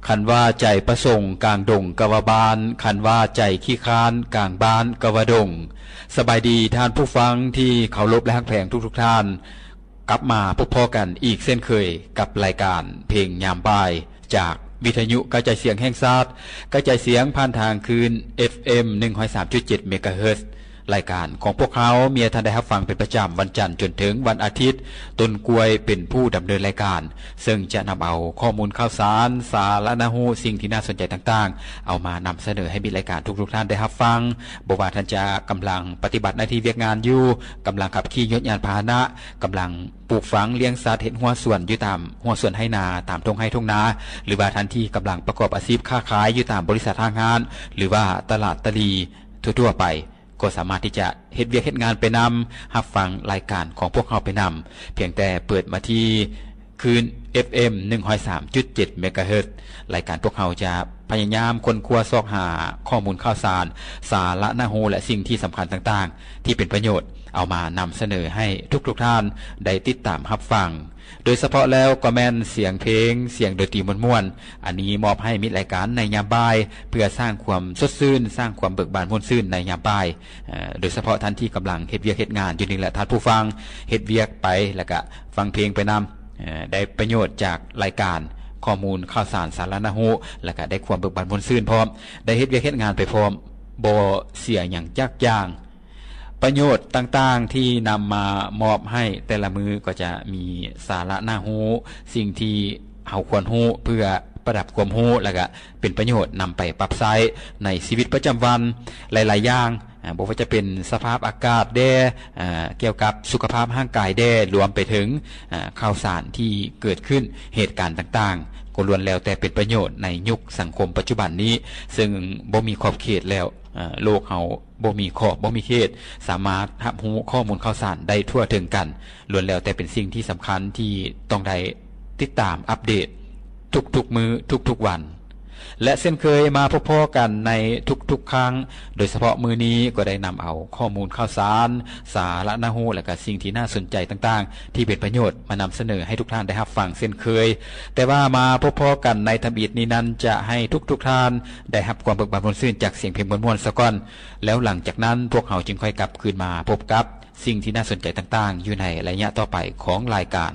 ຄັນວ່າໃຈປະສົງກາງດົງກະວ່າບ້ານ, ຄັນວ່າໃຈຂີ້ຄ້ານກາງບ້ານກະວ່າດົງ. ສະບາຍດີທ່ານຜູ້ຟັງທີ່ເຄົາລົບ ແລະ ຮັກແພງທຸກໆທ່ານ, ກັບມາພົບພໍ້ກັນອີກເຊັ່ນເຄີຍກັບລາຍການເພງຍາມບ່າຍ ຈາກວິທະຍຸກະຈາຍສຽງແຫ່ງຊາດ, ກະຈາຍສຽງຜ່ານທາງຄື້ນ ເອັຟເອັມ ໜຶ່ງຮ້ອຍສາມຈຸດເຈັດ ເມກາເຮີດ. ລາຍການຂອງພວກເຮົາມີໃຫ້ທ່ານໄດ້ຮັບຟັງເປັນປະຈຳວັນຈັນຈົນເຖິງວັນອາທິດ, ຕົ້ນກ້ວຍເປັນຜູ້ດຳເນີນລາຍການ, ເຊິ່ງຈະນຳເອົາຂໍ້ມູນຂ່າວສານ, ສາລະໜ້າຮູ້, ສິ່ງທີ່ໜ້າສົນໃຈຕ່າງໆ ເອົາມານຳສະເໜີໃຫ້ມິດລາຍການທຸກໆທ່ານໄດ້ຮັບຟັງ. ບໍ່ວ່າທ່ານຈະກຳລັງປະຕິບັດໜ້າທີ່ວຽກງານຢູ່, ກຳລັງຂັບຂີ່ຍົດຍານພາຫະນະ, ກຳລັງ ປູກຝັງລ້ຽງສັດ, ເຮັດຮົ້ວສວນຢູ່ຕາມຮົ້ວສວນໄຮ່ນາ, ຕາມທົ່ງໄຮ່ທົ່ງນາ, ຫຼືວ່າທ່ານທີ່ກຳລັງປະກອບອາຊີບຄ້າຂາຍຢູ່ຕາມບໍລິສັດຫ້າງຮ້ານ ຫຼືວ່າຕະຫຼາດຕະຫຼີ່ທົ່ວໆໄປ, ກໍສາມາດທີ່ຈະເຮັດວຽກເຮັດງານໄປນຳ, ຮັບຟັງລາຍການຂອງພວກເຮົາໄປນຳ, ພຽງແຕ່ເປີດມາທີ່ຄື້ນ ເອັຟເອັມ ໜຶ່ງຮ້ອຍສາມຈຸດເຈັດ ເມກາເຮີດ. ລາຍການພວກເຮົາຈະພະຍາຍາມຄົ້ນຄວ້າຊອກຫາຂໍ້ມູນຂ່າວສານ, ສາລະໜ້າຮູ້ ແລະ ສິ່ງທີ່ສຳຄັນຕ່າງໆ ທີ່ເປັນປະໂຫຍດ ເອົາມານຳສະເໜີໃຫ້ທຸກໆທ່ານໄດ້ຕິດຕາມຮັບຟັງ. ໂດຍສະເພາະແລ້ວກໍແມ່ນສຽງເພງ, ສຽງດົນຕີມ່ວນໆ, ອັນນີ້ມອບໃຫ້ມິດລາຍການໃນຍາມບ່າຍ ເພື່ອສ້າງຄວາມສົດຊື່ນ, ສ້າງຄວາມເບີກບານມ່ວນຊື່ນໃນຍາມບ່າຍ. ເອີ ໂດຍສະເພາະທ່ານທີ່ກຳລັງເຮັດວຽກເຮັດງານຢູ່ນີ້ແຫຼະ ທ່ານຜູ້ຟັງ, ເຮັດວຽກໄປ ແລ້ວກະຟັງເພງໄປນຳ, ເອີ ໄດ້ປະໂຫຍດຈາກລາຍການຂໍ້ມູນຂ່າວສານສາລະໜ້າຮູ້, ແລ້ວກະໄດ້ຄວາມເບີກບານມ່ວນຊື່ນພ້ອມ, ໄດ້ເຮັດວຽກເຮັດງານໄປພ້ອມ, ບໍ່ເສຍຫຍັງຈັກຢ່າງ. ປະໂຫຍດຕ່າງໆທີ່ນຳມາມອບໃຫ້ແຕ່ລະມື້ກໍຈະມີສາລະໜ້າຮູ້, ສິ່ງທີ່ເຮົາຄວນຮູ້ເພື່ອປະດັບຄວາມຮູ້ ແລ້ວກະເປັນປະໂຫຍດນຳໄປປັບໃຊ້ໃນຊີວິດປະຈຳວັນຫຼາຍໆຢ່າງ, ອາ ບໍ່ວ່າຈະເປັນສະພາບອາກາດແດ່, ອາ ກ່ຽວກັບສຸຂະພາບຮ່າງກາຍແດ່, ລວມໄປເຖິງ ອາ ຂ່າວສານທີ່ເກີດຂຶ້ນ, ເຫດການຕ່າງໆ ກໍລ້ວນແລ້ວແຕ່ເປັນປະໂຫຍດໃນຍຸກສັງຄົມປັດຈຸບັນນີ້, ເຊິ່ງບໍ່ມີຂອບເຂດແລ້ວ, ອາ ໂລກເຮົາ ບໍ່ມີຂອບ ບໍ່ມີເຂດ, ສາມາດຮັບຮູ້ຂໍ້ມູນຂ່າວສານໄດ້ທົ່ວເຖິງກັນ, ລ້ວນແລ້ວແຕ່ເປັນສິ່ງທີ່ສຳຄັນທີ່ຕ້ອງໄດ້ຕິດຕາມອັບເດດທຸກໆມື້, ທຸກໆວັນ. ແລະ ເຊັ່ນເຄີຍມາພົບພໍ້ກັນໃນທຸກໆຄັ້ງ, ໂດຍສະເພາະມື້ນີ້ກໍໄດ້ນຳເອົາຂໍ້ມູນຂ່າວສານ, ສາລະໜ້າຮູ້ ແລະ ກະສິ່ງທີ່ໜ້າສົນໃຈຕ່າງໆ ທີ່ເປັນປະໂຫຍດມານຳສະເໜີໃຫ້ທຸກທ່ານໄດ້ຮັບຟັງເຊັ່ນເຄີຍ. ແຕ່ວ່າມາພົບພໍ້ກັນໃນທຳອິດນີ້ນັ້ນ ຈະໃຫ້ທຸກໆທ່ານໄດ້ຮັບຄວາມເບີກບານມ່ວນຊື່ນຈາກສຽງເພງມ່ວນໆສາກ່ອນ. ແລ້ວຫຼັງຈາກນັ້ນ ພວກເຮົາຈຶ່ງຄ່ອຍກັບຄືນມາພົບກັບສິ່ງທີ່ໜ້າສົນໃຈຕ່າງໆ ຢູ່ໃນໄລຍະຕໍ່ໄປຂອງລາຍການ.